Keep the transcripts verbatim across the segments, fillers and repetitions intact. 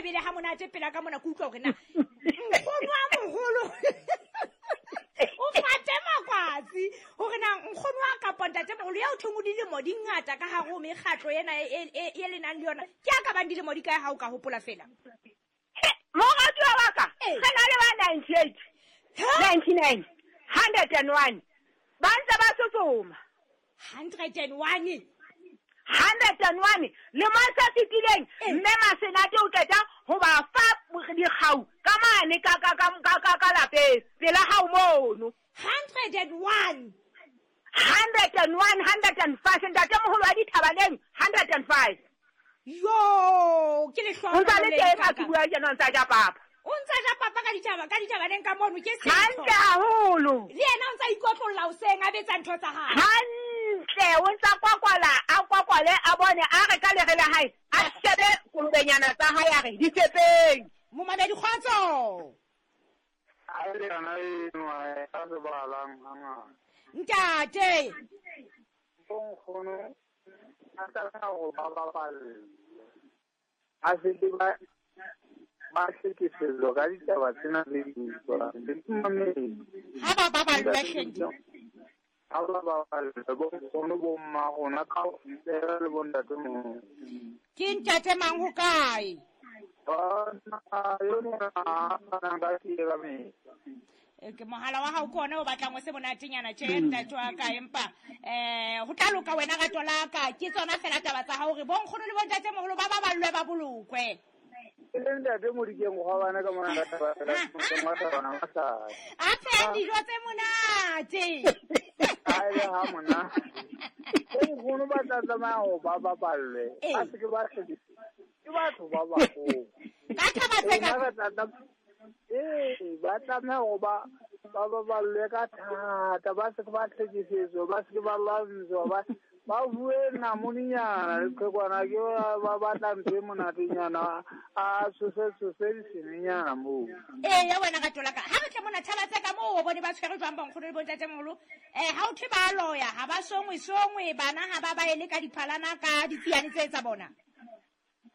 bele ha monate pela ka mona ke utlwa hore na nkgono wa moholo o fate makwatsi hore na nkgono wa kapa ntatemoholo ya o thong o dilemo di ngata ka hare ho mekgatlo ena e e le nang le yona ke a ka bang dilemo di kae ha o ka hopola fela? Moratuwa wa ka re na le ba ninety-eight, ninety-nine, hundred and one ba ntse ba tsotsoma. hundred and one hundred and one lemong se fetileng mme Masenate o qeta ho ba fa dikgau ka mane ka ka ka ka ka lapeng pela hao mono. hundred and one hundred and one, hundred and five ntatemoholo wa Dithabaneng hundred and five. Yo, ke lehlohonolo O ntsa le teng ha ke bua tjena o ntsa ja papa. O ntsa ja papa ka ditaba ka Dithabaneng ka mono ke setho. Hantle haholo. Le yena o ntsa ikotlolla hoseng a betsa ntho tsa hae. Hantle, o ntsa kwakwala, a kwakwale a bone a re ka lere la hae, a shebe kolobenyana tsa hae a re di tshepeng. Momamedi kgotso. A le yona eno a se balang hangata. Ntate. Nkgono a tlameha ho ba baballe. A se ke ba ba hlekefetswa ka ditaba tsena tse di utlwang. Ha ba baballwe hle. Ha ba baballwe bo nkgono bo mma rona kaofela le bo ntatemoholo. Ke ntate mang ho kae? Bona yo mona a fanang ka tee ka mehla. Ke mohala wa hao ke ona o batlang o se monatenyana tje ntate wa ka empa eh ho tla loka wena rato la ka ke tsona fela taba tsa hao hore bo nkgono le bo ntatemoholo ba baballwe ba bolokwe. Ke le ntate Modikeng Kgwabane ka mona ka taba masai. A phehang dijo tse monate. A le ha monate. Bo nkgono ba tla tlameha ho ba baballwe. Ba se ke ba hlekefetswa. Ke batho ba baholo. Ka thaba tse ka Ee, ba tlameha ho ba ba baballwe ka thata, ba se ke ba hlekefetswa, ba se ke ba lwantshwa, ba ba bue namoninyana le qhekwana ke ba batla ntho e monatenyana a tshose tshose disenenyana moo. Ee, ya wena rato la ka. Ha re tle mona thaba tse ka moo o bone ba tshwere jwang bo nkgono le bo ntatemoholo. Eh ha o thwe ba loya, ha ba songwe songwe bana ha ba ba ele ka diphalana ka ditsiane tse tsa bona.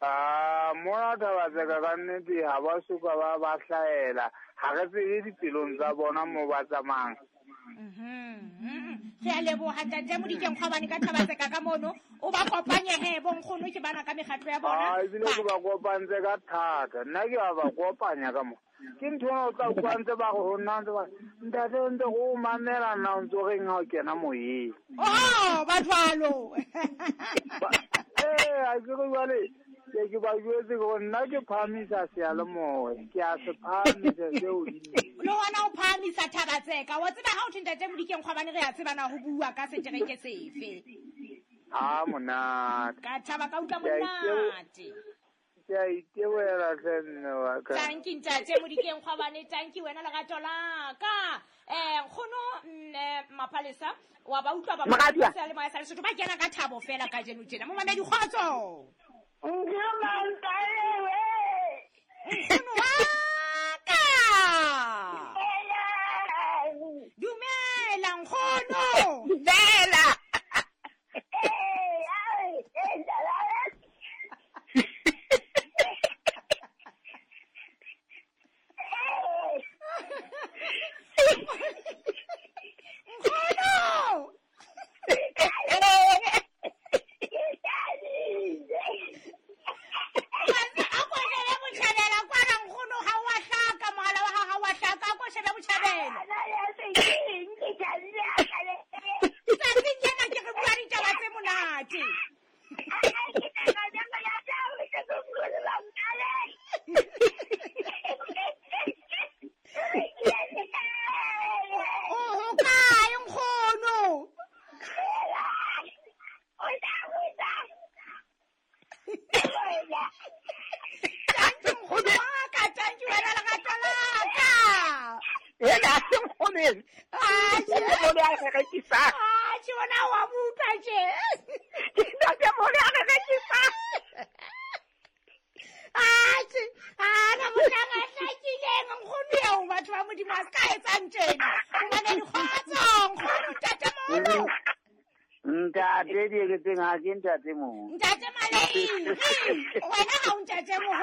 Ah, mona thaba tse ka ka nnete ha ba soka ba ba hlaela. Ha re tsebe dipelong tsa bona moo ba tsamayang. Mhm. Re a leboha ntate Modikeng Kgwabane ka thaba tse ka ka mono o ba kopanye he bo nkgono ke bana ka mekgatlo ya bona. Ah, ebile ke ba kopantse ka thata. Nna ke a ba kopanya ka mo. Ke ntho ena o tla utlwa ntse ba re ho nna ntse ba ntate o ntse o mamela nna o ntso reng ha o kena moyeng. Oh, ba jwalo. Eh, a ke re jwale ke ke ba jwetse hore nna ke phahamisa seyalemoya, ke a se phahamisa seo hodimo. Le hona o phahamisa thaba tseka. Wa tseba ha o thwe ntate Modikeng Kgwabane re a tseba na ho bua ka setereke sefe. Ha monate. Ka thaba ka utlwa monate. Ke a itebohela hle mme wa ka. Tanki ntate Modikeng Kgwabane, tanki wena lerato la ka. Eh nkgono Mapalesa wa ba utlwa ba Moratuwa. seyalemoya sa Lesotho ba kena ka thabo fela kajeno tjena. Momamedi kgotso. Nkgono wa ka. Dumela nkgono. Dumela. Nkgono. A ko shebe botjhabela kwana nkgono ha wa hlaka mohala wa hao ha wa hlaka a ko shebe botjhabela. Tsatsing lena ke re bua ditaba tse monate. O ho kae nkgono? Tanki nkgono wa ka, tanki wena lerato la ka. Ena se nkgono eno. Atjhe. Ntatemoholo a re rekisang. Atjhe, wena wa mo utlwa tje. Ke ntatemoholo a re rekisang. Atjhe, ana mohlang a hlakileng nkgono eo batho ba Modimo a se ka etsang tjena. Hobane dikgotso nkgono ntatemoholo. Ntate Dieketseng ha ke ntate moholo. Ntate Maleng, wena ha o ntate moholo.